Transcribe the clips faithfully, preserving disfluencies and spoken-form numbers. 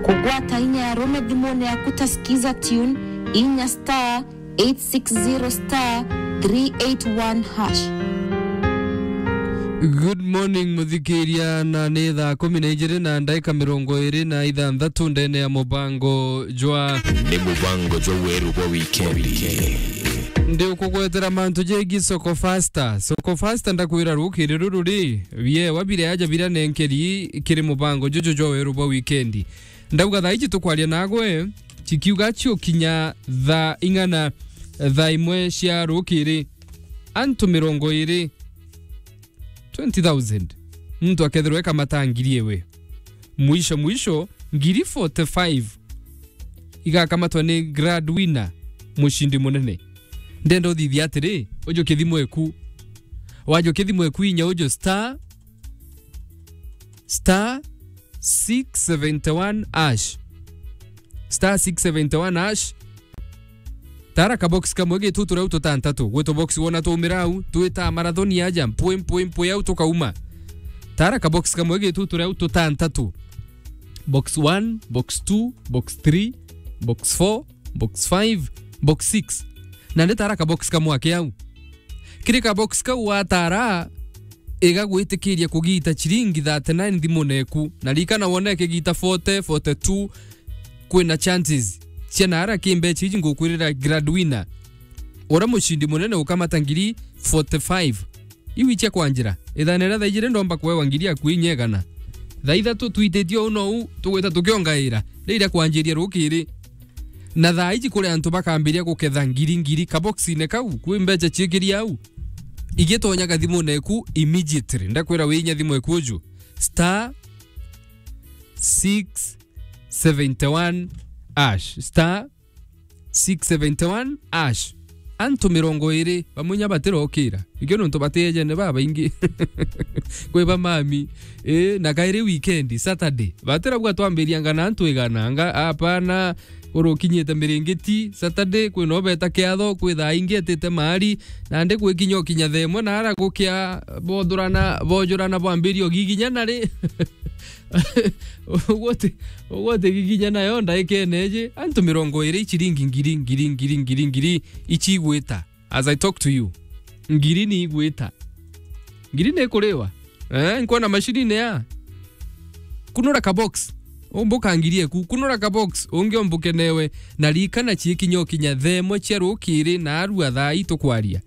Kugwata inya ya rume thimune yaku ta skiza tune, inya star eight six zero star three eight one hash. Good morning, muthikiria, na ni thaa kumi na ijiri na ndaika mirongo iri na ithanthatu ndene ya mubango jwa Ni mubango jwa weru bwa wikendi. Ndi ukugwetera mantu jegi Soko Faster. Soko Faster, ndakwira rukiri ruru ri, biewa biria aja biria nenkeri kiri mubango juju jwa weru bwa wikendi. Ndauga thaa iji tukwaria nagwe, chikiuga chiukinya thaa ing'ana, thaa imwe cia rukiri, antu mirongo iri, twenty thousand, muntu akethirwa ekamata ngiri iwe. Mwisho mwisho, ngiri forty-five igakamatwa ni grand winner, mucindi munene. Ndenda uthithia atiri, ujukie thimu eku. Wajukia thimu eku, inya uju star, star six seventy one hash. Star six seventy one hash. Tara ka box kamwe gitu turia tutantatu. Gwitu box wona tumira au, twita marathoni aja, mpwe, mpwe, mpwe au tukauma. Tara ka box kamwe gitu turia tutantatu. Box one, box two, box three, box four, box five, box six. Na ndi tara ka box kamwe ake au. Kiri ka box kau watara, igagwitikiria kugita chiringi thirty-nine thimune eku. Na rikana wone kigita forty, forty-two, kwina chances cia nara ki mbecha iji ngukwirira grand winner. Ura mucindi munene ukamata ngiri forty-five. Iu ichia kwanjira. Ithane ria thaa ijiri ndomba kwewa ngiri yaku inya igana. Thaa ithatu twititie uu nou tugwita tukiongaira. Riria kwanjiria rukiri. Na thaa iji kuri antu bakambiria guketha ngiri ngiri kaboxine kau, kwi mbecha chiikiri au. Igitonyaga thimune eku immediately. Ndakwira wiinya thimu eku uju. Star six seventy one hash. Star six seventy one hash. Antu mirongo iri, bamwe inya batirokira. Ikio nontu batiejene babaingi. Kwi bamami. Ii, na kairi weekend, Saturday. Batirauga twambirianga na antu igana, anga, apana, kurukinyite miringiti, Saturday, kwina ubeta kiatho, kwi thaa ingi etite maari, nandi gwikinya ukinya thaa imwe, na ara gukia bothurana, bojurana bwambiria ugiginya nari. Ugwati, ugwati giginya nayo ndaikene iji, antu mirongo iri, chiringi ngiri, ngiri, ngiri, ngiri, ngiri, ichigwita. As I talk to you, ngiri ni igwita. Ngiri ni ikuriwa. Eh, nkwona mashini ni ya. Kunura ka box. Umbuka ngiri eku. Kunura ka box. Ungi umbuke newe. Na rikana chiikinya ukinya thaa imwe cia rukiri na arua thaa ii tukwaria.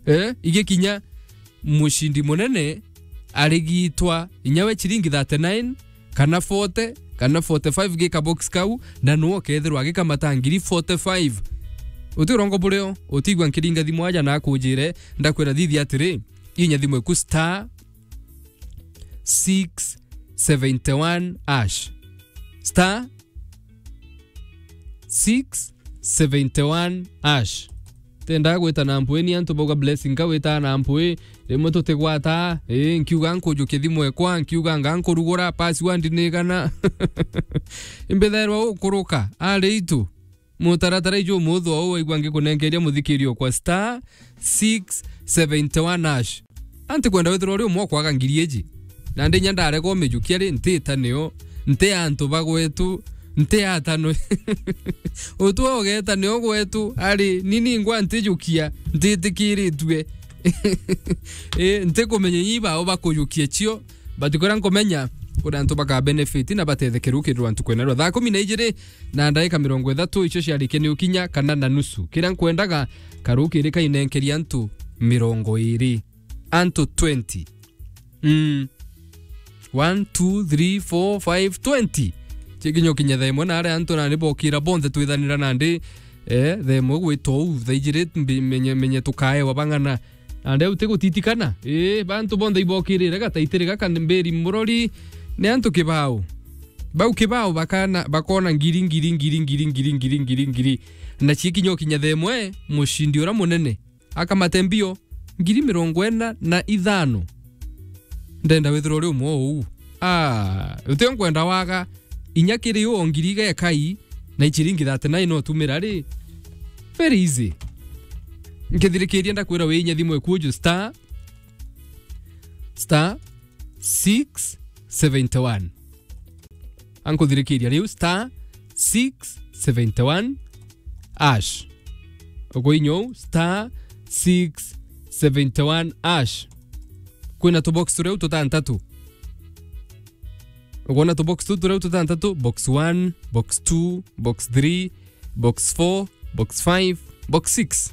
Eh, igikinya mucindi munene arigitwa inya we chiringi thirty-nine, kana forty, kana forty-five gi ka box kau, na nwe ukethirwa agikamata ngiri forty-five. Uti urongo burio, utigwa nkiringa thimu aja na akujire, ndakwira thithia atiri, inya thimu eku star six seventy one hash. Star six seventy one hash. Tendaa gwita na mpwi, ni antu bauga Blessing ka witaa na mpwi, rimwe tutigwataa, ii, nkiuga nkujukia thimu ekwa, nkiuga nga nkurugura, password ni igana. Imbithairwa ukuruka, ari itu, mutaratara iju umuthu ou waigua ngikunenkeria muthikirio kwa star six seventy one hash. Anti kwenda withirwa uri umwe ukwaga ngiri iji. Nandi inya ndarega umijukia ri, ntiita nio, nti antu ba gwetu, nti atanwe. Utwe ugeta nio gwetu, ari, ni ningwa ntijukia, ntitikiritue. Ii, ntikumenya inya ibao bakujukia cio, but kuria nkumenya, kuri antu baka benefit na batethekere ukirwa antu kwenerwa. Thaa kumi na ijiri na ndaika mirongo ithatu icio ciarikia ni ukinya kana na nusu. Kiria nkwendaga, karukiri kainenkeria antu mirongo iri. Antu twenty. Mm. One, two, three, four, five, twenty. Chikinya ukinya thaa imwe na aria antu nandi bokira bonthe twithanira nandi, eh, thaa imwe gwita uu, thaa ijiri mbi-, menye, menye tukaewa bang'ana. Nandi au tigutitikana. Ii, bantu bonthe ibokirire gataitiri gaka mbiri murori ni antu kibao. Bau kibao bakana, bakona ngiri, ngiri, ngiri. Na chikinya ukinya thaa imwe, mucindi uria munene akamate mbio ngiri mirongo ina na ithano. Ndenda withirwa uri umwe uu. Ah, utio nkwenda waga inya kiri uu o ngiri igekai na ichiringi thirty-nine no tumira ri. Very easy. Nkithirikiria ndakwira wi inya thimu eku uju star, star six seventy one. Ankuthirikiria riu star six seventy one hash. Uguinya uu, star six seventy one hash. Kwina tubox turia tutantatu. Ukwona tubox tu turia tutantatu, box one, box two, box three, box four, box five, box six.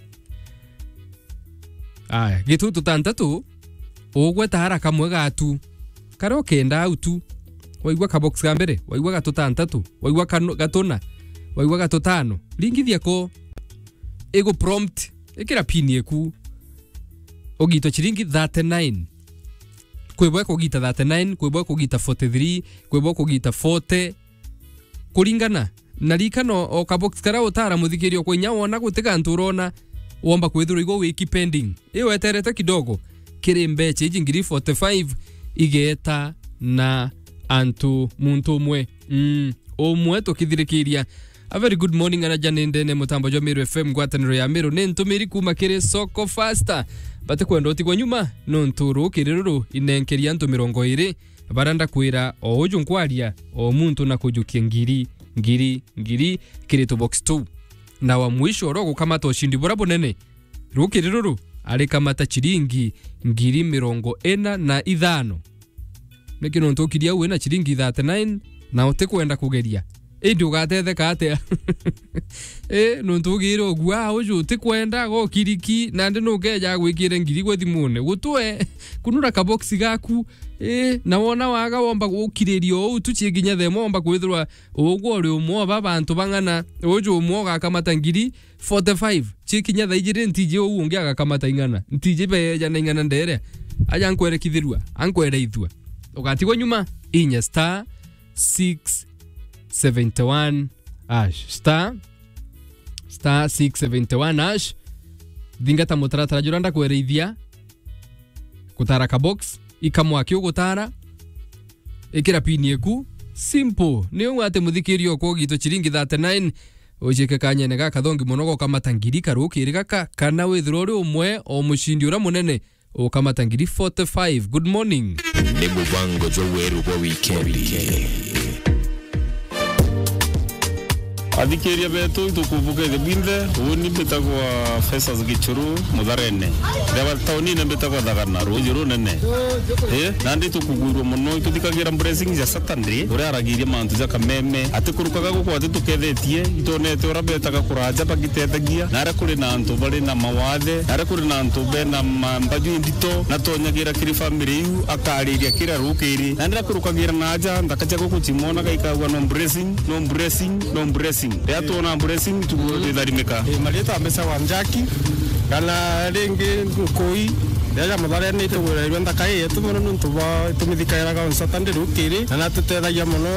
Aya, gitu tutantatu, ugweta ara kamwe gatu. Karia ukenda au tu. Waigua ka box ka mbere, waigua gatutantatu, waigua kanu-, gatuna, waigua gatutano. Ringithia ko, igu prompt, ikira pin eku. Ugitwa chiringi thirty-nine. Kwibwa kugita thirty-nine, kwibwa kugita forty-three, kwibwa kugita forty. Kuringana na rikano o kabox karia utara muthikiria kwa inya wona guti gantu urona, womba kwithirwa igwe wiki pending. Iyo weterete kidogo, kiri mbecha iji ngiri forty-five igeta na antu muntu umwe. Mm, umwe tukithirikiria. A very good morning, ana Jane ndene mutambo jwa Meru F M, ngwataniro ya Meru. Ni ntumiri kuma kiri Soko Faster. Batikwenda utigwa nyuma, nontu rukiri ruru inenkeria antu mirongo iri. Bara ndakwira, o uju nkwaria, o muntu na kujukia ngiri, ngiri, ngiri, kiri tu box tu. Na wa mwisho oro gukamata ushindi bura bunene. Rukiri ruru, arikamata chiringi ngiri mirongo ina na ithano. Niki nontu ukiria au wina chiringi thirty-nine na utikwenda kugeria? Indi ugatetheka atia? Eh, nontu ugire ugua, ah, uju utikwenda, gokiriki, nandi nukeja gwikire ngiri gwe thimune. Gutwe, kunura kabox gaku, eh, na wona waga womba gukiriria uu tu chikinya themo womba kwithirwa ugwe uri umwe wa ba bantu bang'ana, uju umwe ugakamata ngiri forty-five. Chikinya thaa ijiri ntiji uu ungi agakamata ing'ana. Ntiji beja na ing'ana ndere. Aja ankwere kithirua, ankwere ithua. Ugatigwa nyuma, inya star six seventy one hash. Star, star six seventy one hash. Thingata mutaratara jura ndakwereithia. Gutara ka box, ikamwa kiu gutara. Ikira pin eku. Simple. Ni uu ati muthikiria okwa ugitwa chiringi thirty-nine. Ujike kanyene gaka thongi mono gokamata ngiri karukiri gaka, kana withirwa uri umwe o mushindi ura munene ukamata ngiri forty-five. Good morning. Ni mubango jwa weru bwa wikendi. Athikiria betu, itukubuka ithi bwinthe. Uni mbitagwa Festus Gichuru, Mutharene. Ndeba taunine mbitagwa Thagana, ruuji runene. Eh, nandi tukugwirua mono, ituthikagira blessing ja Saturday, uria aragiria mantu ja kameme. Atikurukaga guku atitukethetie, itonete uria betaga kuraja bagiteethagia, na aria kuri na antu bari na mawathe, na aria kuri na antu bena ma-, mbaju indito, na tonyagira kiri family iu, akariria kira rukiri. Nandi akurukagira na aja, nthaka cia guku chimonaga ikagwa no blessing, no blessing, no blessing. Riria twona blessing, tugwitharimika. Eh, marietwa mbeca wa Njaki, kana ringi Nkui, riria ja Mutharene itugwirairwe nthaka ii yetu mono nontu bwa itumithikairaga on Saturday rukiri, na natutethagia mono,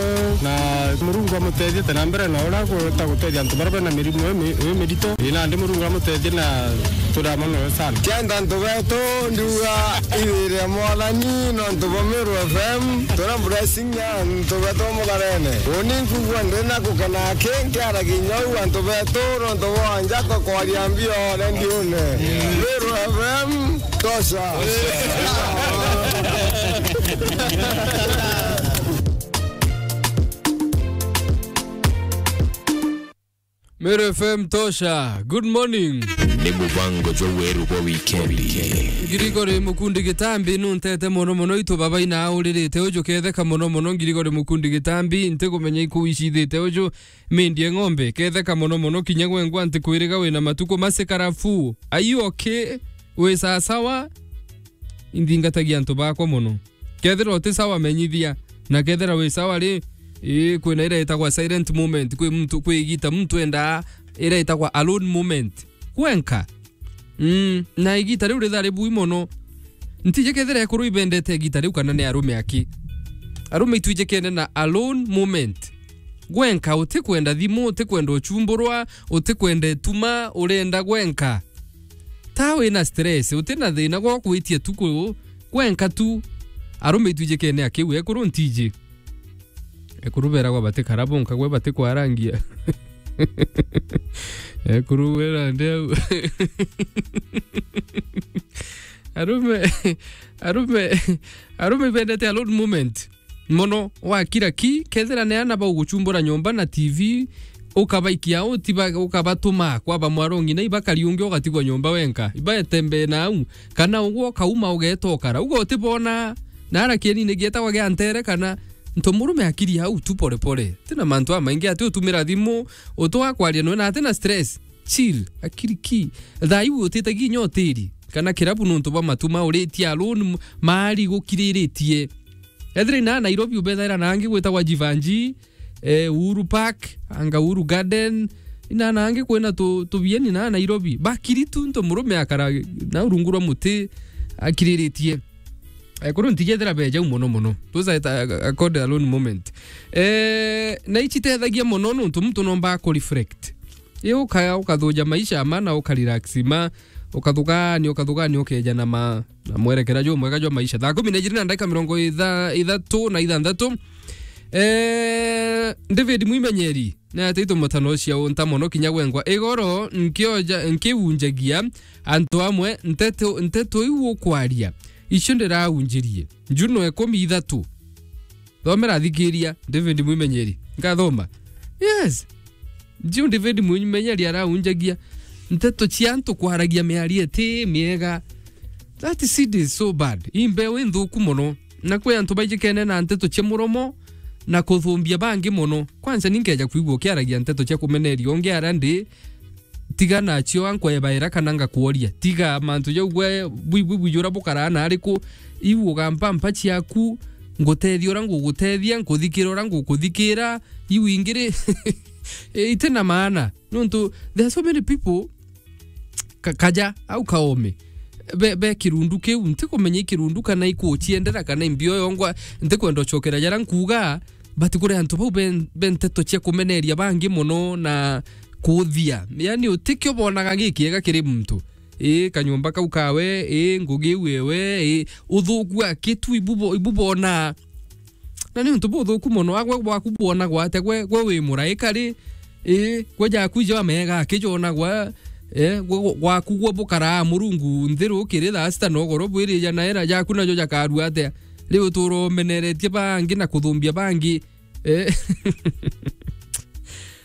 na Murungu amutethie te na mbere na uria agwita gutethia antu baria bena mirimu imi-, imirito. Ii, nandi Murungu amutethie na turamanoe sana. Kenda antu betu, ndiuga iwire Mwathani nontu bwa Meru F M, tuna blessing ya antu betu Mutharene. Uni nkugua ndina gukena aki, nkiaragia inya uu antu betu, nontu bwa Njaka kwaria mbio rediune. Meru F M, tosha. Meru F M tosha. Good morning. Ni mubango jwa weru bwa wikendi. Ngirigori Mukundi Gitambi, nuntete mono mono, itu baba ina auririte uju ketheka mono mono. Ngirigori Mukundi Gitambi, ntikumenya iku icithite uju mindie ng'ombe, ketheka mono mono, kinya gwengwa ntikwiriga wina matuku masikarafu. Are you okay? Wi sasawa? Inthingatagia antu bakwa mono. Kethira uti sawa, menyithia, na kethira wi sawa ri, ii, kwina iria itagwa silent moment, kwi muntu, kwi igita muntu endaa iria itagwa alone moment. Gwenka. Mm, na igita riu rithaa ribui mono. Ntiji kethira ekuru ibendete igita riu kana ni arume aki. Arume itwijikene na alone moment. Gwenka, utikwenda thimu, utikwenda uchumburwa, utikwenda ituma, urenda gwenka. Ta wina stress, uti na thina gwa kwitia tuku gwenka tu. Arume itwijikene akiu, ekuru ntiji. Ekuru beragwa batikara bonka, gwe batikwarangia. Ekuru wera ndeu. Arume, arume, arume bendete alone moment. mono, wakira ki, kethira ni ana bauguchumbura nyomba na T V, ukabaikia au, tiba-, ukabatuma kwa bamwarongi na ibakari ungi ugatigwa nyomba wenka. Ibaetembee na au, kana ugwo ukauma ugeeta ukara. Ugo utibona, na ara kienine gietagwa gia ntere kana nto murume akiri au tu pole pole. Tina mantu amaingi ati utumira thimu, utwa kwaria nwe na atina stress. Chill, akiri ki. Thaa iu utitagia inya utiri kana kirabu nontu bwa matuma uritie alone m-, maari gukiriritie. Ethira ina Nairobi ubethaira na angi gwitagwa Jivanji, eh, Uhuru Park, anga Uhuru Garden, ina na angi kwina tu-, tubieni na Nairobi. Bakiri tu nto murume akara na urungu rwa muti akiriritie. Eh, kuru ntigethira beja u mono mono. Those are a, a, a called alone moment. Eh, na ici itethagia mono nontu muntu nomba ku reflect. Ii uka-, ukathuja maisha ma na uka relax ma, ukathugania, ukathugania, ukeja na ma, na mwerekera jumwega jwa maisha. Thaa kumi na ijiri na ndagika mirongo itha-, ithatu na ithanthatu. Eh, David Mwimenyeri, ni ati itumutano cia unta mono kinya gwengwa. Igoro nkioja, nkiunjagia antu amwe nteto, nteto iu ukwaria. Icio ndiraunjirie. Juno ikumi ithatu. Thomera, thikiria, David Mwimenyeri. Nkathoma. Yes. Jiu David Mwimenyeri araunjagia nteto cia antu kwaragia miario iti miega. That seed is so bad. Ii mbeu inthuku mono. Na kwi antu baijikene na nteto cia muromo na kuthumbia bangi mono. Kwanza ni nkeja kwigua ukiaragia nteto cia kumeneria ungi aria ndi, tiga nacio, ankwebaira kana ngakworia. Tiga mantu jau gwe bwi-, bwi-, bwijura bukaraa na ariku. Iu ugampampa ciaku, ngutethia uria ngugutethia, nkuthikira uria ngukuthikira. Iu ingi ri, iti na maana. Nontu, there are so many people, ka-, kaja, au kaome. Be, be kirundu kiu, ntikumenya i kirundu kana ikuciendera kana i mbio yongwa, ntikwenda ucokera jaria nkuuga, but kuri antu bau be, be nteto cia kumeneria bangi mono na kuthia. Yani, utikio bonaga gikiega kiri muntu. Ii, kanyomba kau kawe, ii, ngugi iu ewe, ii, uthuku akitu ibubo-, ibubona. Na ni untu buthuku mono, agwe bwaku bwonagwa atia? Gwe, gwe wi muraika ri? Ii, gwe jaku ijo amega akijonagwa, eh, gwe, gwe, gwaku gwe bukaraa Murungu nthi rukiri thaa sita na ugoro bwirija na era jaku najo jakarua atia? Riu utura umeneretie bangi na kuthumbia bangi. Eh.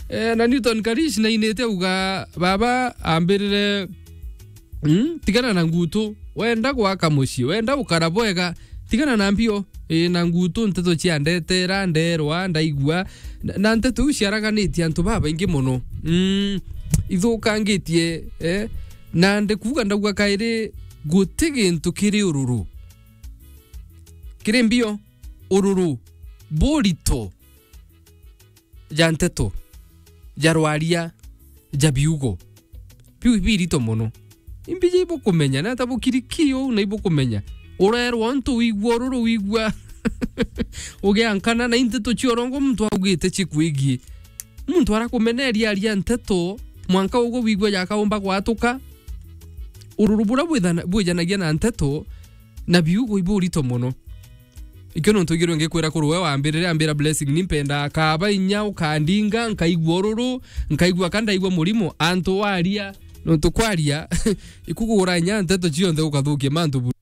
Eh, na Newton Karish na inite uga, baba ambirire, mm, tigana na ngutu, wenda gwaka mucii, wenda ukara bwega, tigana na mbio. Eh, na ngutu nteto cia ndetera, nderwa, ndaigua, na, na nteto iu ciaraganitie antu babaingi mono. Mm, ithukangitie, eh, na ndikuuga ndauga kairi, guti gintu kiri ururu kiri mbio. Ururu burito ja nteto, ja rwaria, ja biugo. Biu birito mono. Imbiji ibukumenya, na ata bukiriki uu na ibukumenya. Urerwa untu wigua ururu wigua. Ugiankana na inteto cia urongo muntu augite cikwigie. Muntu arakumeneria aria nteto, mwanka ugwe wigua jakaumba gwatuka. Ururu bura bwithana-, bwijanagia na nteto, na biugo iburito mono. Ikio nontu igirwe ngikwira kuru we wambirire, ambira Blessing, ni mpenda kaba inya ukandinga, nkaigua ururu, nkaigua ka ndaigua murimo, antu waria, nontu kwaria, ikugura inya nteto cionthe ukathukia mantu buru.